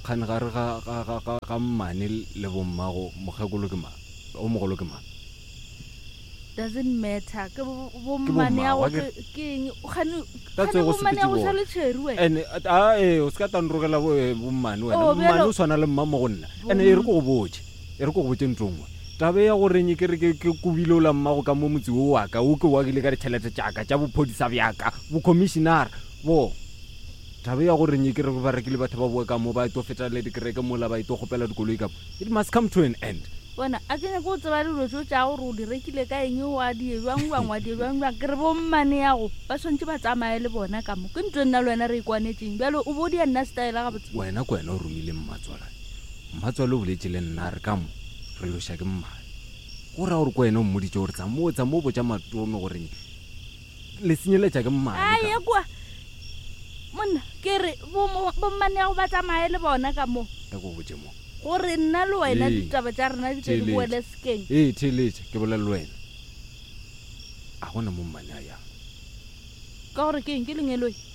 Kgane gare ga, ga, ga, ga, ga mmane le bommago, mokgekolo ke mang? O mogolo ke mang? Doesn't matter. Ke bo- bommane ya go ke ke eng? Kgane Ka kgane tsego bommane ya go sepetse sa le tšheri wena. Ene a ee o se ka tanrogela bo eh, bommane wena. Oh, Mmane o swana le mma mo go nna. Ene e re ko go botše. E re ko go botše ntho nngwe. Taba ya gore nye ke re ke ke kobile ola mmago ka mo motse wo wa ka wo ke o agile ka ditšhelete tša ka tša bophodisa bja ka, bokhomišinara, bo. Taba ya gore nye ke re ba rekile batho ba boe ka mo ba tlo feta le dikereke mola ba tlo kgopela dikoloi ka mo, it must come to an end. Bona, a ke nyake go tseba dilo tšeo tša gore o di rekile ka eng, wa di ye bjang bjang, wa di ye bjang bjang. Ke re bommane yago ba swanetše ba tsamaye le bona ka mo. Ke ntho e nna le wena re e kwanetšeng. Bjale o bo o dia nna setaela gabotse. Wena ke wena o romile mmatswalane. Mmatswale o boletše le nna a re ka mo re loša ke mmane. Go ra gore ke wena o mmoditše gore tsamo tsamo o botša Matome gore Le senyeletša ke mmane ka. Aye kua. Monna, ke re bommane ya go ba tsamaye le bona ka mo. Tla ko botše mo. Gore nna le wena ditaba tša rena di tle di boele sekeng. Ee, theeletša, ke bolela le wena. A gona mo mmane a yang. Ka gore ke eng? Ke lengeloi.